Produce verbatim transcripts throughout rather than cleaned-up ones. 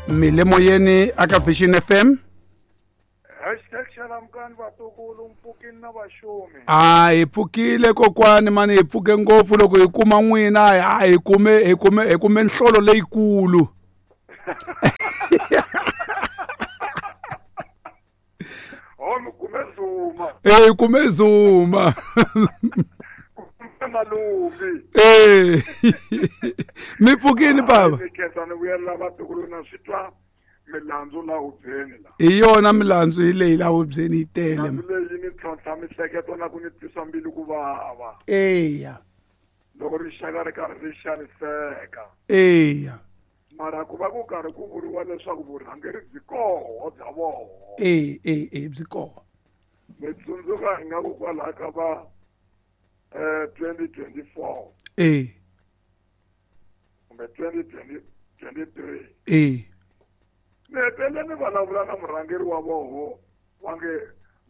Mi le moyeni aka Vision F M. Hashtag xalamukani vatukulu mpfukini na vaxumi. A hi pfukile kokwani mani, hi pfuke ngopfu loko hi kuma n'wina, a hi kume hi kume hi kume nhlolo leyikulu. Oh, mi kume Zuma. Eh, hi kume Zuma. Kume Maluvi. Eh. Mi pfukini baba. Ni khensa ni vuyela vatukulu na swi twa milandzu la hubyeni la. Hi yona milandzu hi leyi la hubyeni yi tele. Milandzu leyi ni tlhontlha mihleketo na ku ni twisa mbilu ku vava. Eya. Loko rixaka ri karhi ri xaniseka. Eya. Mara ku va ku karhi ku vuriwa leswaku vurhangeri byi koho bya voho. E e e byi koho. Ni tsundzuka ingaku kwalaho ka va eh twenty twenty-four. E. Kumbe twenty twenty-three. E. Ni hetelele ni vulavula na murhangeri wa voho va nge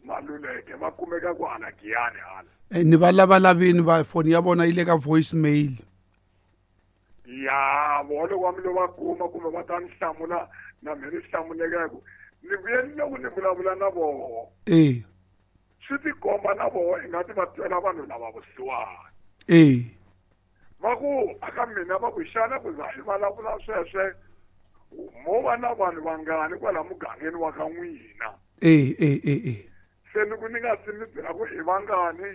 Maluleke va kumeka ku hala Giyani hala. E ni va lavalavini va foni ya vona yi le ka voice mail. Ya voho loko va mi lo va kuma kumbe va ta ni hlamula na me ni hlamuleka ku ni vuye ni loko ni vulavula na voho. E. Swi tikomba na voho ingaku va twela vanhu lava vusiwana. E. Va ku aka mina va ku xana ku za hi vulavula sweswe mo va na vanhu vangani kwala mugangeni wa ka n'wina. E e e e. Se ni ku ni nga si mi byela ku i vangani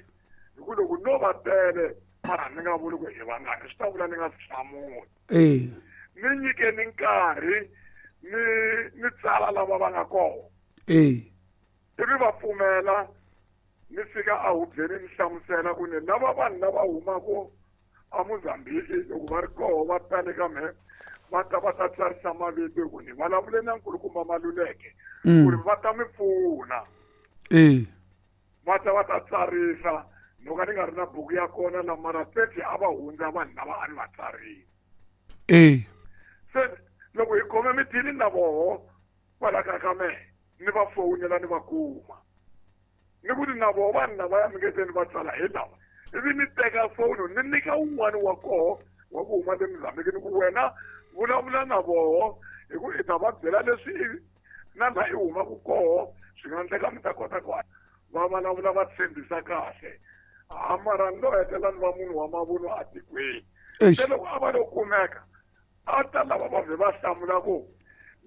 hi ku loko no va tele mara ni nga vuli ku i vangani swi ta vula ni nga swi hlamuli. E. Ni nyikeni nkarhi ni ni tsala lava va nga kona. E. Ivi va pfumela ni fika a hubyeni ni hlamusela ku ni lava vanhu lava humaka a Mozambique loko va ri koho va tale ka mehe va ta va ta tsarisa mavito ku ni vulavule na nkulukumba Maluleke ku ri va ta mi pfuna. E. Va ta va ta tsarisa no ka ni nga ri na buku ya kona la mara thirty a va hundza vanhu lava a ni va tsarile. E. Se loko hi khome mithini na voho kwala ka ka mehe ni va fowunela ni va kuma. Ni ku ni na voho vanhu lava ya mi nge se ni va tsala hi lava. Ivi ni teka foni ni nyika un'wana wa koho wa ku huma le Mozambique ni ku wena vulavula na voho hi ku i ta va byela leswi na laha i humaka koho swi nga endleka mi ta kota ku va vulavula va tshembisa kahle. A mara ni lo hetelela ni va munhu wa mavunwa atikweni. Se loko a va lo kumeka a ta lava va vhe va hlamula ku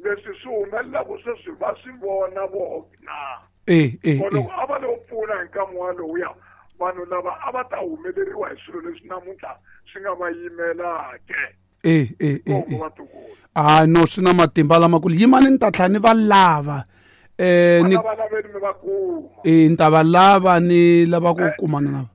leswi swi humelelaka sweswi va swi vona voho na. E e. Loko a va lo pfuna hi nkama walowuya vanhu lava a va ta humeleriwa hi swilo leswi namuntlha swi nga va yimelake. E e e. Ah no swi na matimba lamakulu yimani ni ta tlhela ni va lava. Eh ni va laveni mi va kuma. E ni ta va lava ni lava ku kumana na.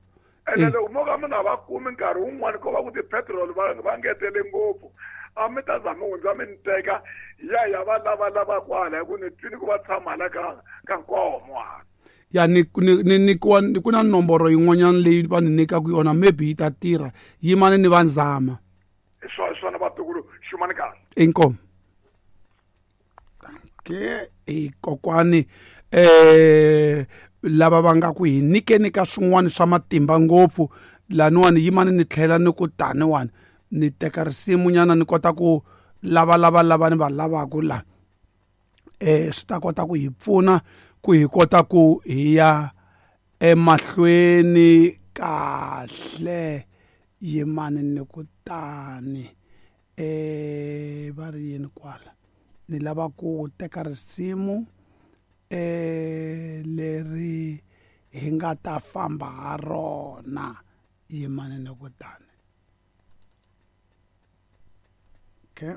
Ene loko mo ka mi nga va kumi nkarhi wun'wani ko va ku ti-petrol va va ngetele ngopfu a mi ta za mi hundza mi ni teka ya ya va lava lava kwala hi ku ni twini ku va tshama hala ka ka Nkomo hala. Ya ni ni ni nyikiwa ku na nomboro yin'wanyana leyi va ni nyikaka yona maybe yi ta tirha yimani ni va nzama. Hi swona swona vatukulu xumani kahle. Inkomu. Dankie e kokwani eh lava va nga ku hi nyikeni ka swin'wana swa matimba ngopfu laniwani yimani ni tlhela ni ku taniwani ni teka risimu nyana ni kota ku lava lava lava ni va lavaka la eh swi ta kota ku hi pfuna ku hi kota ku hi ya emahlweni kahle yimani ni ku tani eh va ri yini kwala ni lava ku teka risimu eh leri hi nga ta famba ha rona yimani ni ku tani. Okay.